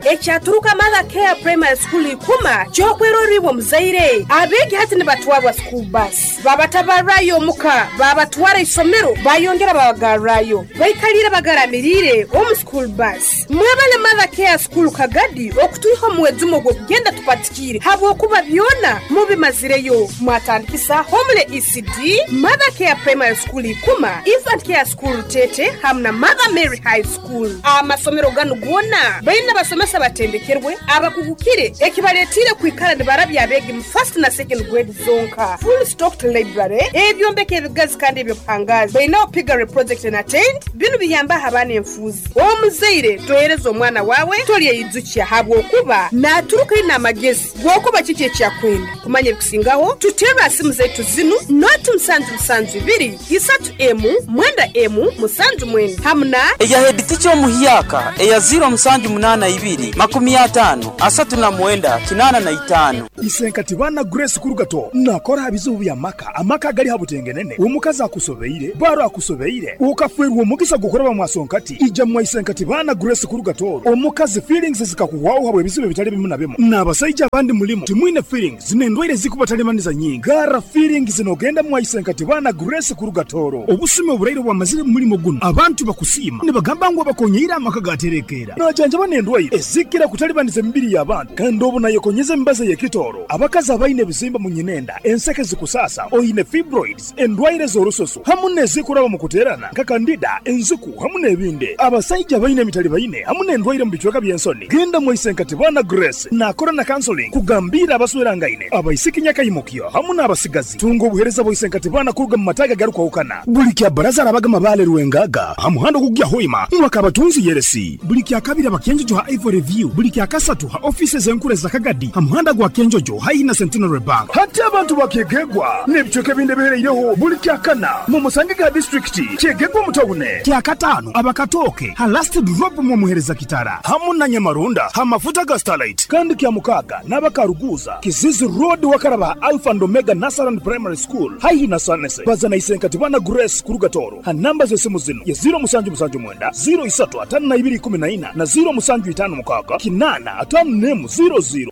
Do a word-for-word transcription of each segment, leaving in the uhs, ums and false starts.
Ekyaturuka Mother Care Primary School ikuma kyokweroribwa muzaire. Abeegi hati nibatwarwa school bus. Babatabarrayo omuka, babatwara isomero, bayongera babagarrayo. Baikalire bagaramirire omu school bus. Mwebale Mother Care School Kagadi okutwiha omwezi ogwo kugenda tupatikire habwokuba byona mubimazireyo. Mwatandikisa Homely E C D, Mother Care Primary School ikuma, Infant Care School Tete hamwe na Mother Mary High School. Amasomero ganu gona baina basomesa batendekerwe abakugukire ekibaletire kwikara nibarabya abegi mu first na second grade zonka. Full stocked library, ebyombeko ebigazi kandi ebyobuhangazi. Baina piggery project and attend binu biyamba abaana enfuzi. Omuzaire tohereza omwana wawe tolyeyijukia habwokuba naturuka ina amagezi gwokuba kiki ekyakwenda. Kumanya ebikusingaho tutera simu zetu zinu noti musanju musanju ibiri isatu emu mwenda emu musanju mwenda hamna eya head teacher omuhyaka eya zero musanju munana ibiri makumi atano asatu na mwenda kinana na itano. Isenkati bana Grace Kurugato nakora habizubu bya maka amaka gali habutengenene omukazi akusobeire baro akusobeire ukafwerwa omugisa gukora bamwasonkati ija mwa Isenkati bana Grace Kurugato omukazi feelings zikakuwaho habwe bizibu bitali bimu na bimu n'abasajja abandi mulimo timwine feelings n'endwaire zikubatalemaniza nyingi gara feelings nogenda mwa Isenkati bana Grace Kurugatoro obusime oburaire bwamazire mulimo guno abantu bakusima nibagamba ngo bakonyeira amaka gaterekera najanja banendwaire ezikira kutalibaniza emibiri y'abantu kandi obu nayekonyeza embaza y'ekitoro abakazi abaine ebizimba mu nyinenda enseke zikusasa oyine fibroids endwaire z'orusoso hamu n'ezikuraba mu kuterana nka kandida enziku hamu n'ebindi abasajja baine emitali baine hamu n'endwaire mu bicweka by'ensoni genda mwa Isenkati bana Grace nakora na counseling kugambira abaswerangaine abaisiki nyakayimukyo hamu n'abasigazi tunga obuhereza bwa Isenkati bana kuruga mu mataga garukwahukana buli kya baraza arabagama bale rwengaga hamuhando kugya hoima mwakabatunzi yeresi buli kya kabiri abakenjojo ha Ivory View buli kya kasatu ha offices enkure za Kagadi hamuhanda gwa Kenjojo haihi na Centenary Bank hati abantu bakegegwa n'ebicweka ebindi bihereireho buli kya kana mu musange ga district kyegegwa mutawune kya katano abakatoke ha last drop mu muhereza kitara hamu na Nyamarunda ha mafuta ga Starlight kandi kya mukaga n'abakaruguza Kizizi Road wakaraba Alpha and Omega Nasaran Primary School haihi na Sanese bazana Isenkati bana Grace Kurugatoro ha namba z'esimu zino ya zero musanju musanju mwenda zero isatu atano na ibiri kumi na ina na zero musanju itano mukaga kinana atano nemu zero zero.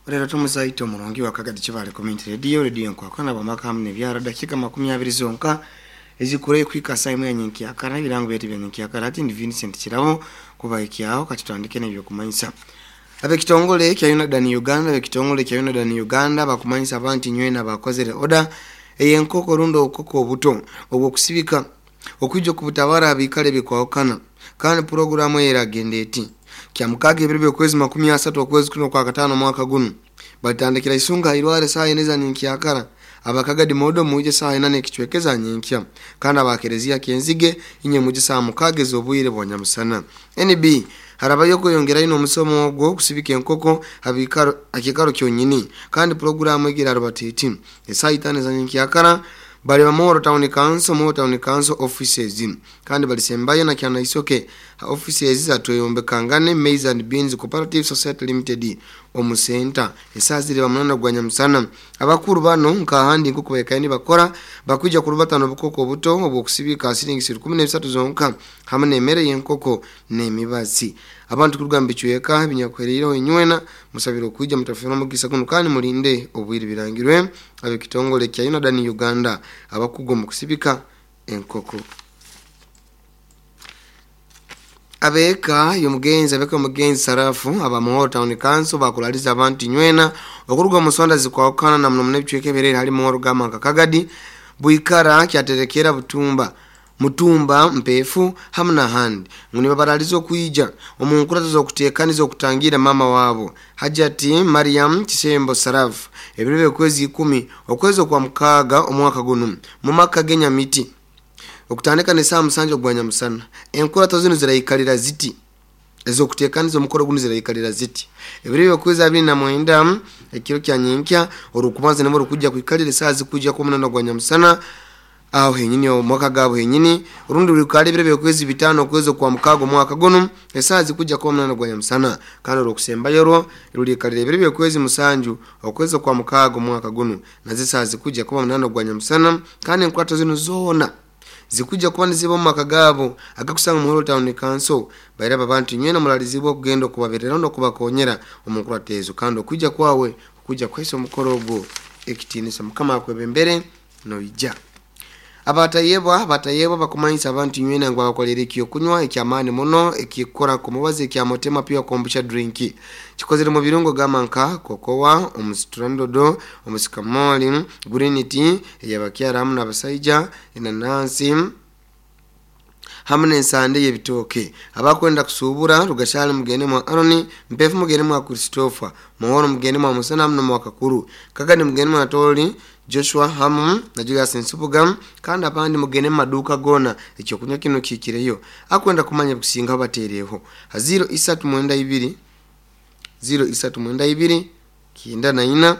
Rero tumuzaito murongi wa Kagadi Kibale Community Radio Radio nkwakana bamaka hamwe byara dakika makumi abiri zonka ezikure kwika saa imwe yanyenki akara birango byetu byanyenki akara ati ndi Vincent Kirabo kuba ikiaho katutandike n'ebyo kumanyisa abe kitongole kya Unadan Uganda abe kitongole kya Unadan Uganda bakumanyisa abantu nywena bakozere order eyenkoko rundo okoko obuto obwo kusibika okwijo kubutabara abikale bikwawukana kandi programu eragendeti kya mukage ebirebe kwezi makumi asatu okwezi kuno kwa katano mwaka guno batandikira isunga irware saa ineza ninkiakara abakagadi modo muje saa inane kichwekeza nyinkya kandi abakerezia kenzige inye muje saa mukage zobuyire bwanyamusana N B harabayo kuyongera ino musomo ogwo kusibika enkoko abikaro akikaro kyonyini kandi programu igira rubatiti saa itane za nyinkiyakara bali ba Moro Town Council Moro Town Council offices kandi balisembayo na kyana isoke offices za Toyombe Kangane Maize and Beans Cooperative Society Limited omusenta esazire bamunana gwanya musana abakuru bano nkahandi nkuko bekayini bakora bakuja kurubatano bukoko buto obwokusibika silingi kumi na bisatu zonka hamwe nemere yenkoko nemibazi abantu kurugamba icyeka binyakwerero inywena musabiro kuja mutafuna mugisa kuno kandi mulinde obwiri birangirwe abe kitongole kya Unadan Uganda abakugo mu kusibika enkoko abeka yomugenzi abeka mugenzi sarafu aba Moro Town Council bakulaliza abantu nywena okuruga musonda zikwakana na mno mnebichweke berere hali Moro gama Kagadi buikara kyaterekera butumba mutumba mpefu hamna handi nguni babaralizo kuija omunkurazo zokutekaniza okutangira mama wabo Hajati Mariam Kisembo Sarafu ebirebe kwezi ikumi okwezo kwa mukaga omwaka guno mu maka genya miti okutandika ne saa musanju ogwanya musana enkurato zino zirayikalira ziti ezokutekaniza omukoro guno zirayikalira ziti ebirebe kwezi abiri na mwenda ekiro kya nyinkya orukubanza nemo rukujja kuikalira saa zikujja ku munana ogwanya musana aho henyini omwaka gabo henyini urundi rukali bire byokwezi bitano kwezo kwa mukago mwaka gono esazi kujja kwa mnana gwa nyamusana kandi rokusembayo ro rulikalire bire byokwezi musanju okwezo kwa mukago mwaka gono nazisazi kujja kwa mnana gwa nyamusana kandi nkwata zino zona zikuja kuba niziba mu maka gaabo agakusanga mu Town Council bairaba abantu nywena mulalizibwa okugenda okubaberera n'okubakonyera omukurata ezo kandi okujja kwawe okujja kwesa omukoro ogwo ekitiinisa Mukama akwebembere noija. Abatayebwa abatayebwa bakumanyisa abantu nywena ngo bakolera ekyokunywa ekyamaani muno ekikora kumubazi ekyamotema pia kombucha drink kikozere mu birungo gama nka kokowa, omusitrandodo, omusikamoli, green tea eyabakyara hamwe n'abasaija, enanansi hamwe n'ensande y'ebitooke. Abakwenda kusuubura Rugashali mugende mwa Aroni, Mpefu mugende mwa Christopher, Muhoro mugende mwa Musana hamwe mwa Kakuru, Kagani mugende mwa Tori Joshua hamu na Julius Nsubuga kandi abandi mugende maduka gona ekyokunywa kino kikireyo. Akwenda kumanya kusinga batereho zero isatu mwenda ibiri zero isatu mwenda ibiri kienda na ina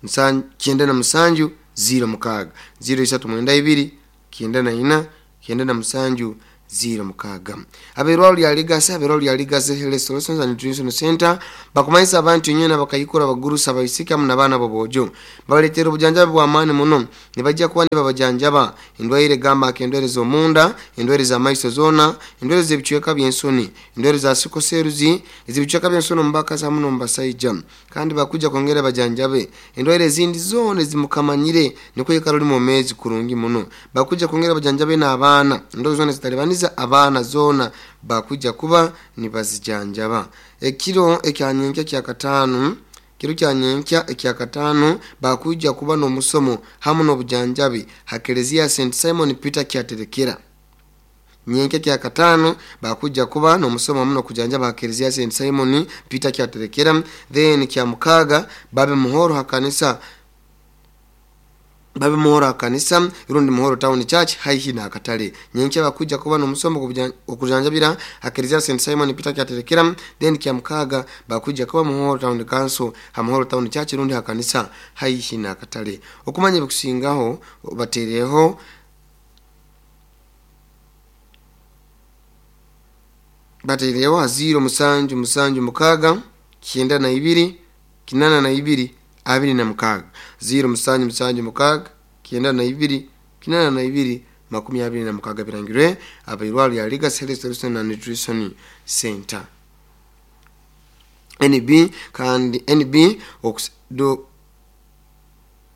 musanju kienda na musanju zero mukaga zero isatu mwenda ibiri kienda na ina kienda na musanju zero mukaga. Aberwa lya Legacy aberwa lya Legacy Health Solutions and Nutrition Center bakumanyisa abantu nyena bakayikora bagurusa bayisika mu nabana bobojo babaletera obujanjabi bwa maani muno nibajja kuba nibabajanjaba endwaire gamba endwaire z'omunda, endwaire za maiso zona, endwaire z'ebicweka by'ensoni, endwaire za sikoseruzi ez'ebicweka by'ensoni mubakazi muno mubasaija kandi bakuja kwongera bajanjabe endwaire ezindi zona ezimukamanyire niko yekaro mu mezi kurungi muno bakuja kwongera bajanjabe n'abaana endwaire zona zitalibaniza abaana zona bakuja kuba nibazijanjaba. Ekiro ekyanyenkya kya katano kiro kyanyenkya ekya katano bakuja kuba n'omusomo hamwe n'obujanjabi hakelezia Saint Simon Peter kyaterekera. Nyenkya kya katano bakuja kuba n'omusomo hamwe n'okujanjaba hakelezia Saint Simon Peter kyaterekera. Then kya mukaga babe muhoro hakanisa babe muhoro akanisa irundi Muhoro Town Church haihi na akatale. Nyenkya bakuja kuba n'omusomo okujanjabira hakelezia Saint Simon Peter kyaterekera. Then kya mukaga bakuja kuba Muhoro Town Council ha Muhoro Town Church irundi hakanisa haihi na akatale. Okumanya bikusingaho batereho batereho zero musanju musanju mukaga kienda na ibiri kinana na ibiri abiri na mukaga zero musanju musanju mukaga kienda na ibiri kinana na ibiri makumi abiri na mukaga birangirwe abairwaro ya Legacy Health Solutions and Nutrition Center. N B kandi N B do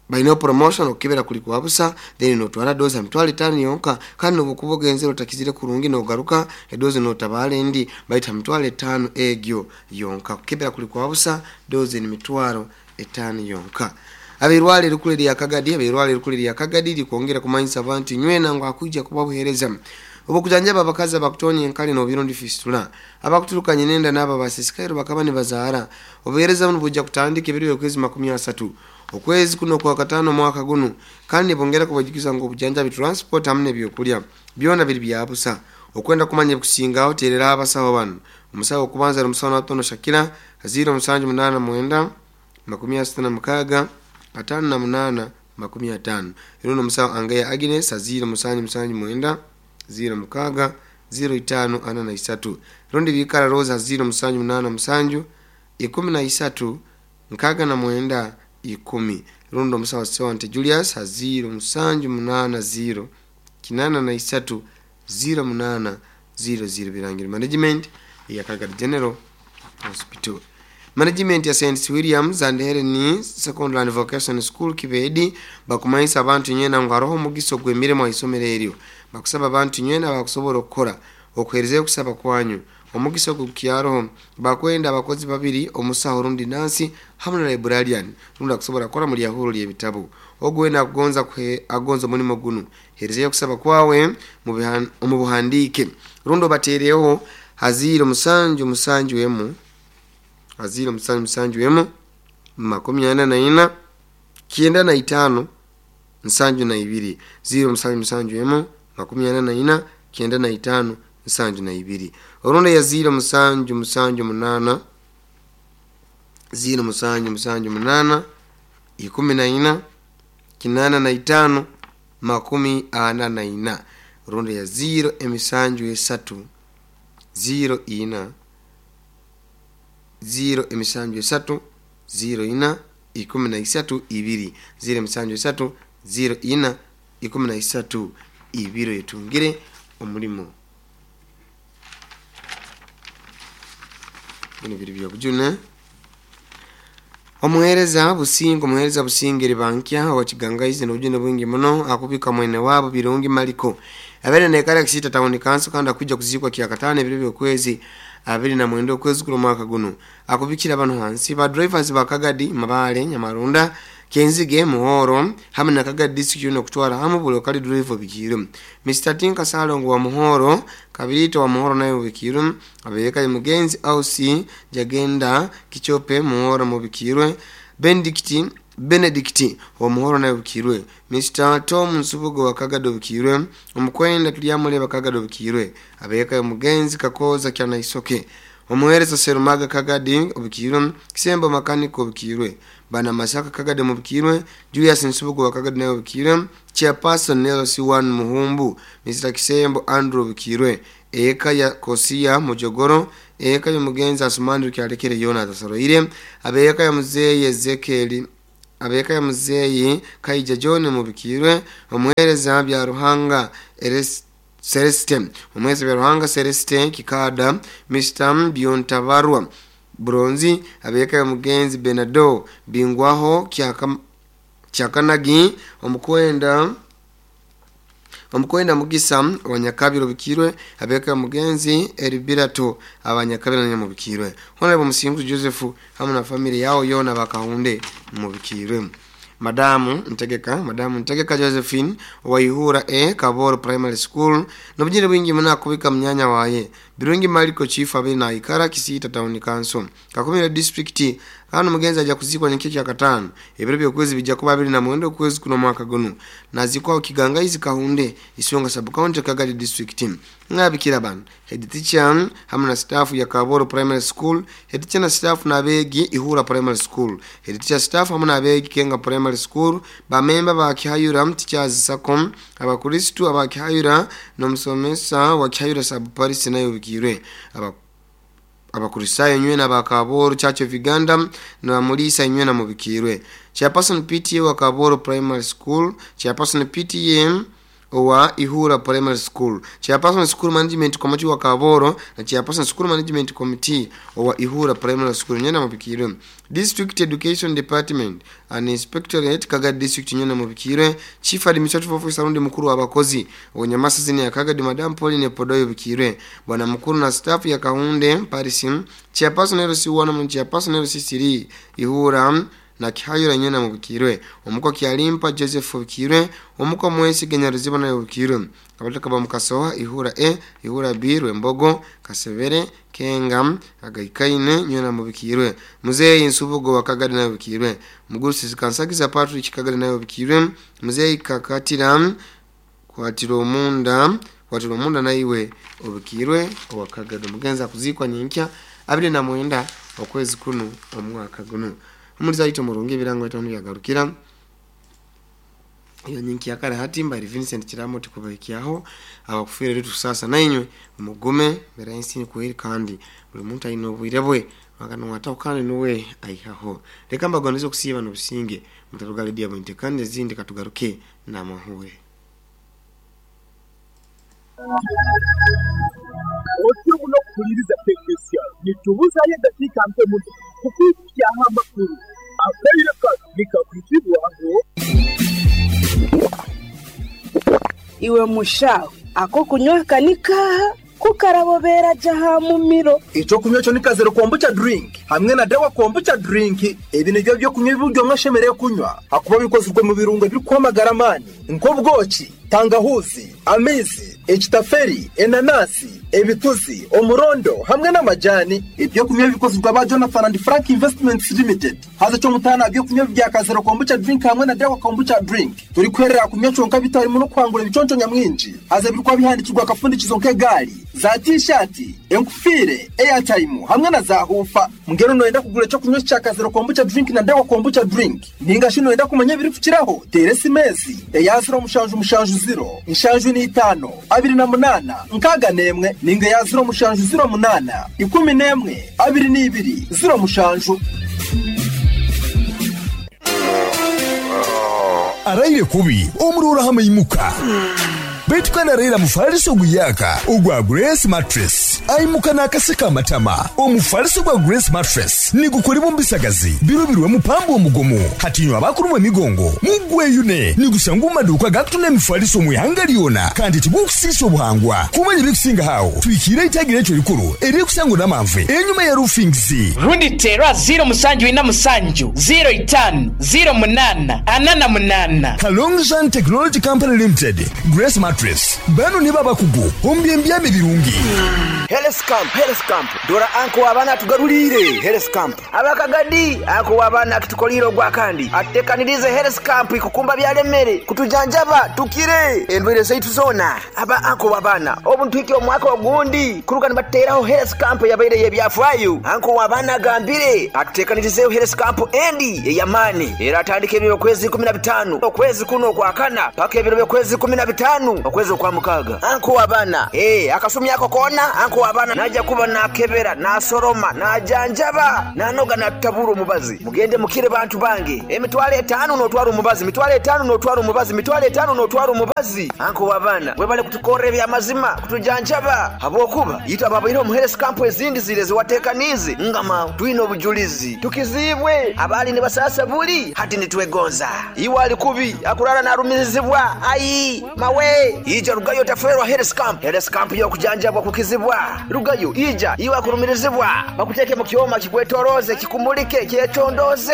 baino promotion okibera kuli kwabusa then notwara doza mitwalo itano yonka kandi obukubogenzero takizire kurungi nogaruka edoze notabale ndi baita mitwalo itano egyo yonka kukibera kuli kwabusa doze ni mitwalo etano yonka. Abirwale rukule lya Kagadi abirwale rukule lya Kagadi likwongera kumanyisa abantu nywena ngo akuja kubabuhereza obukujanjaba abakazi abakutonya enkali n'obirundi fistula abakuturukanye nenda n'aba basisikairo bakaba nibazaara obuhereza buno bujja kutandika ebiro by'okwezi makumi asatu okwezi kuno kwa katano mwaka guno kandi bongera kubajukiza ngo obujanjabi transport hamwe n'ebyokulya byona biri byabusa. Okwenda kumanya kusingaho terera abasawo bano omusawo okubanza ari omusawo Natono Shakira zero musanju munana mwenda makumi asatu na mukaga atano na munana makumi atano. Iruno musawo Angeya Agnes zero musanju musanju mwenda zero mukaga zero itano ana na isatu. Rundi bikara Rosa zero musanju munana musanju ikumi na isatu nkaga na mwenda ikumi. Rundo musawo Sewante Julius zero musanju munana zero kinana na isatu zero munana zero zero. Birangiro management ya Kagadi General Hospital. Management ya Saint Williams and Helen Secondary and Vocational School Kibedi bakumanyisa abantu nyena ngo aroho mugiso gw'emirimo isomero eryo bakusaba abantu nyena bakusobola okukola okuherezeyo okusaba kwanyu omugiso gukyaroho bakwenda abakozi babiri omusaho rundi nansi hamwe na librarian rundi akusobola kukola muri yahuru ly'ebitabo ogwenda agonza agonza omulimo guno herezeyo okusaba kwawe mu buhandiike rundi obateereho haziro musanju musanju emu aziro musanju musanju emu makumi ana na ina kienda na itano nsanju na ibiri ziro musanju musanju emu makumi ana na ina kienda na itano nsanju na ibiri. Orunda ya ziro musanju musanju munana ziro musanju musanju munana ikumi na ina kinana na itano makumi ana na ina rundi ya ziro emisanju esatu ziro ina ziro emisanju esatu ziro ina ikumi na isatu ibiri ziro emisanju esatu ziro ina ikumi na isatu ibiri yetungire omulimo bino biri byobujune. Omuhereza Businga omuhereza Businga ribankya owakigangaize n'obujune bwingi muno akubika mwene wabo Birungi Maliko abere nekara kisita town council kandi akujja kuzikwa kyakatano ebiro byokwezi abiri na mwenda okwezi kuno mwaka guno akubikira abantu hansi ba drivers ba Kagadi Mabale Nyamarunda Kenzige Muhoro hamwe na Kagadi district no kutwara hamwe buli kali driver bikiro Mister Tinka Salongo wa Muhoro Kabirito wa Muhoro nayo bikiro abeka mugenzi Ausi Jagenda Kichope Muhoro mu bikirwe Benedict Benedict wa Muhoro nayo bikirwe Mister Tom Nsubugo wa Kagado bikirwe omukwenda tulyamule Kagado bikirwe abeka mugenzi Kakoza kyana isoke omuhereza Serumaga Kagadi obikirwe Kisembo Makaniko bikirwe Bana Masaka Kagadi mubikirwe Julius Nsubugo wa Kagadi nayo bikirwe Chairperson Nelson C one Muhumbu Mister Kisembo Andrew bikirwe eka ya Kosia Mujogoro eka ya mugenzi Asumani kyalekere Yona tasoroire abeka ya muzeye Ezekiel abeka ya muzeyi Kaija John mubikirwe omuhereza bya Ruhanga Eres Celeste omuhereza bya Ruhanga Celeste Kikada Mister Biontabarwa Bronzi abeka ya mugenzi Benado Bingwaho kyaka Kyakanagi omukwenda omukwenda Mugisa wanyakabiro bikirwe abeka ya mugenzi Eribirato abanyakabiro nyamubikirwe Honorable Musingu Joseph hamwe na family yao yona bakahunde mubikirwe Madamu Ntegeka Madamu Ntegeka Josephine wa Ihura E Kaboro Primary School nobujire bwingi muna kubika mnyanya waye Birungi Maliko Chief abiri na Ikara Kisita Town Council Kakumira District hano mugenzi aja kuzikwa nyekeki ya katano ebiro byokwezi bijja kuba abiri na mwenda okwezi kuno mwaka guno nazikwa Kigangaizi Kahunde Isonga Sub County Kagadi District ngabikira bana head teacher hamwe na staff ya Kaboro Primary School head teacher na staff na begi Ihura Primary School head teacher staff hamwe na begi Kenga Primary School ba member ba Kihayura Teachers Sacco abakristu aba Kihayura nomusomesa wa Kihayura Sub Paris nayo bikirwe aba abakurisayo nywe na bakaboro Church of Uganda na mulisa nywe na mubikirwe Chairperson P T A wa Kaboro Primary School Chairperson P T A wa Ihura Primary School Chairperson School Management Committee wa Kaboro na Chairperson School Management Committee wa Ihura Primary School nywe na mubikirwe District Education Department and Inspectorate Kagadi District nywe na mubikirwe Chief Administrative Officer rundi mukuru abakozi onyamasa zini ya Kagadi Madam Pauline Podoyo bikirwe bwana mukuru na staff ya Kahunde Paris Chairperson L C one na Chairperson L C three Ihura na Kihayura nyena mubikirwe omuko Kyalimpa Joseph bikirwe omuko Mwesi Genyaruziba nayo bikirwe abataka bamukasoha Ihura E Ihura B Rwembogo Kasebere Kenga Agaikaine nyena mubikirwe Muzeyi Nsubugo wa Kagadi nayo bikirwe Mugurusi Kansagiza Patrick Kagadi nayo bikirwe Muzeyi Kakatira kwatira omunda kwatira omunda naiwe obikirwe owa Kagadi mugenza kuzikwa nyinkya abiri na mwenda okwezi kuno omwaka guno omuliza ito murungi ebirango itono byagarukira iyo nyinki yakare hatimba iri Vincent Kiramo tikubaikyaho abakufira rero sasa nainywe mugume mbere y'insi kuhiri kandi buri muntu ayino obwire bwe wakano watao kandi nuwe aihaho reka mbagonizo kusiba no businge mutaruga redio mwinte kandi zindi katugaruke na mahuwe Otimu no kuliriza technician nitubuza ye dakika mpe muno kukukia amakuru akaire nikakwitibwaho iwe mushawe ako kunywa kanika kukarabobera jaha mumiro ico kunywa cyo nikazero kombucha drink hamwe na dawa kombucha drink ebi nibyo byo kunywa ibiryo mwashemereye kunywa akuba bikozwe mu birungo biri kwamagara mani nk'ubwoki Tangahuzi, amaizi, ekitaferi, enanasi, ebituzi, omurondo hamwe n'amajani. Ebyokunywa bikozirwe aba Jonathan and Frank Investments Limited. Haza ky'omutaano ebyokunywa bya Kazero Kombucha Drink hamwe na Dawa Kombucha Drink. Turi kuherera kunywa kyonka bitarimu n'okwangura ebiconco nyamwingi. Haza birikuba bihandikirwa akafundikizo nk'egaari, za t-shirt, enkufiire, airtime hamwe na za hufa. Mbwenu noyenda kugura ekyokunywa kya Kazero Kombucha Drink na Dawa Kombucha Drink. Ninga shi noyenda kumanya ebirikukiraho, teera esimesi eya ziro mushanju mushanju ziro, nshanju n'itaano, abiri na munaana, nkaaga n'emwe, ninga eya ziro mushanju ziro munaana, ikumi n'emwe, abiri n'ibiri, ziro mushanju. Araire kubi omurora hamaimuka baitu kandi araira mufaliso guyaka ogwa Grace Mattress aimuka n'akaseka amatama. Omufaliso gwa Grace Mattress nigukolebwa mu bisagazi birubirwe mupambo omugomo hatinywa abakulumwa emigongo mugweyune nigusanga mu maduuka gakutunda emifaliso mu ihanga lyona kandi tigukusiisa obuhangwa kumanya ebikusinga hawo twikire itagira ekyo likuru eririkusangwa n'amanve enyuma ya roofings rundi terwa ziro musanju ina musanju ziro itanu ziro munana anana munana. Kalongjan Technology Company Limited Grace Mattress bano ni babakugu ombyembyame birungi. Health Camp, Health Camp. Dora anko abana tugarulire Health Camp. Abakagadi anko abana kitukoliro gwa kandi. Atekanirize Health Camp ikukumba byalemere kutujanjaba tukire endwere zaitu zona. Aba anko abana obuntu iki omwaka ogundi kuruka nibateraho Health Camp yabaire yebyafwayo. Anko abana gambire atekanirize Health Camp endi eyamani. Era atandike ebiro kwezi kumi na bitano okwezi kuno kwa kana paka ebiro kwezi kumi na bitano okwezi kwa mukaga. Anko abana eh akasumi yako kona anko abana naja kuba nakebera nasoroma najanjaba nanoga natabura omubazi mugende mukire bantu bange emitwale etano notwara omubazi mitwale etano notwara omubazi mitwale etano notwara omubazi. Anko abana webale kutukora ebyamazima kutujanjaba habwokuba yita babaire omu health camp ezindi zire ziwatekanize ngama twine obujulizi tukizibwe abali ne basasa buli hati nitwegonza iwe ali kubi akurara narumizibwa ayi mawe ija rugayo taferwa health camp. Health camp yo kujanjabwa kukizibwa rugayo ija iwe akurumirizibwa bakuteke mu kyoma kikwetoroze kikumulike kyetondoze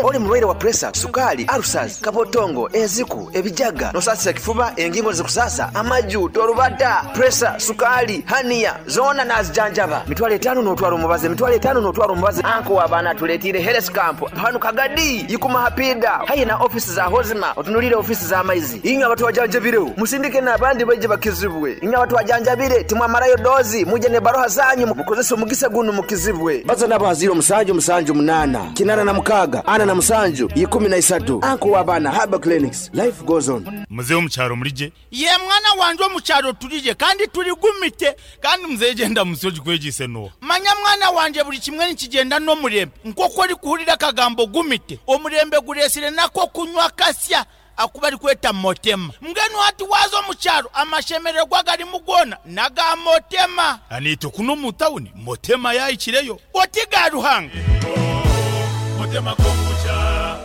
oli mulwaire wa pressure sukali ulcers kabotongo eziku ebijaga nosasira kifuba engingo zikusasa amaju torubata pressure sukali hania zona nazijanjaba mitwale etano notwara omubazi mitwale etano notwara omubazi. Anko abana tuletire health camp hanu kagadi yikuma hapida hayi na office za hozima otunulire office za maizi inga abantu wajanjabire musindike n'abandi baje bakizibwe inga abantu wajanjabire timwamarayo dozi muje ne baroha zanyu mukozesa omugisa guno mukizibwe baza n'abaziro musanju musanju munana kinana na mukaga ana na musanju ikumi na isatu. Anko wabana Haba Clinics life goes on. Mzee omukyaro mulije ye mwana wanje omukyaro tulije kandi tuligumite kandi mzee genda musoji kwegise no manya mwana wanje buli kimwe nikigenda n'omurembe nk'oku ori kuhurira akagambo gumite omurembe guresire nako kunywa kasya akuba ari kweta motema mbwenu hati waza omukyaro amashemererwa gari mugona naga motema anito kuno mu tawuni motema yayikireyo otiga ruhanga motema kombucha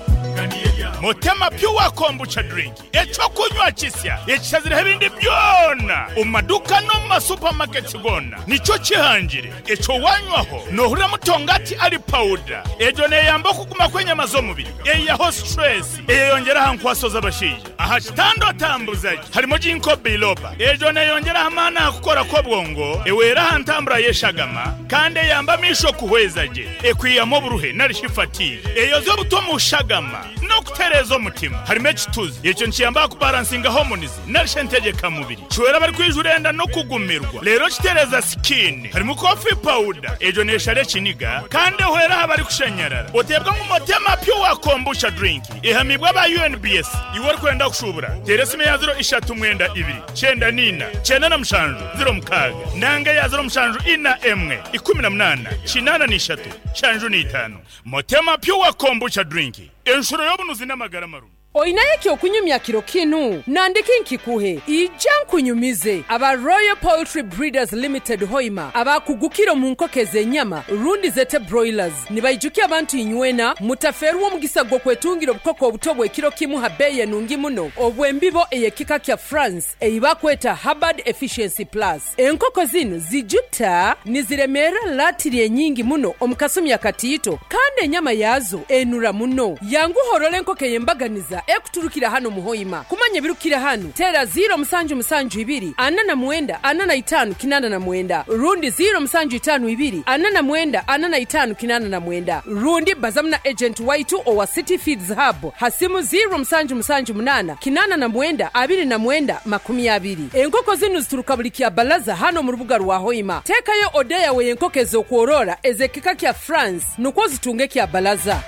Motema Pure Kombucha Drink ekyokunywa kisya ekishazireho ebindi byona omu maduka no mu supermarkets gona nikyo kihangire ekyo wanywaho nohurira mutongati ari powder egyo neyamba okuguma kw'enyama z'omubiri eyaho stress eyeyongeraho nkwaso z'abashaija aha kitando tambuzaji harimo ginkgo biloba egyo neyongeraho amaani aha kukora kw'obwongo ewera aha ntambura y'eshagama kandi eyamba amisho kuhweza gye ekwiyamu oburuhe narishi fatigue eyoza obuto mu shagama no kutereza omutima harimo ekituzi ekyo nkiyamba kubalansinga hormones narishe ntegeka mubiri kiwera bari kwijurenda no kugumirwa rero kitereza skin harimo coffee powder egyo neshare kiniga kandi ehwera abari kushenyerera otebwa nk'umutema Pure Kombucha Drink ihamibwa ba U N B S iwe ori kwenda kushubura teresime ya ziro ishatu mwenda ibiri cyenda nina cyenda na mushanju ziro mukaga nanga ya ziro mushanju ina emwe ikumi na munana kinana n'ishatu shanju n'itanu. Motema Pure Kombucha Drink enshuro y'obunuzi n'amagara marungi. Oinaye kyokunyumya kiro kinu nandiki nkikuhe ija nkunyumize aba Royal Poultry Breeders Limited Hoima abakugukiro mu nkoko z'enyama rundi zete broilers nibaijukia abantu inywena mutaferwa omugisa gwo kwetungira obukoko obuto bw'ekiro kimu ha beye nungi muno obwembibo eyekika kya France eibakweta Hubbard Efficiency Plus. Enkoko zino zijuta niziremera latiri enyingi muno omukasumi akatiito kandi enyama yazo enura muno yangu horole enkoko yembaganiza Ekuturukira hano muhoima. Kumanya ebirukira hanu teera ziro musanju musanju ibiri ana na mwenda ana na itaano kinana na mwenda rundi ziro musanju itaano ibiri ana na mwenda ana na itaano kinana na mwenda rundi bazamu na agent waitu owa City Feeds Hub hasimu ziro musanju musanju munana kinana na mwenda abiri na mwenda makumi abiri. Enkoko zinu zituruka buli kya balaza hano mu rubuga rwa Hoima. Teekayo oda yawe y'enkoko ez'okworora ez'ekika kya France nukwo zitunge kya balaza.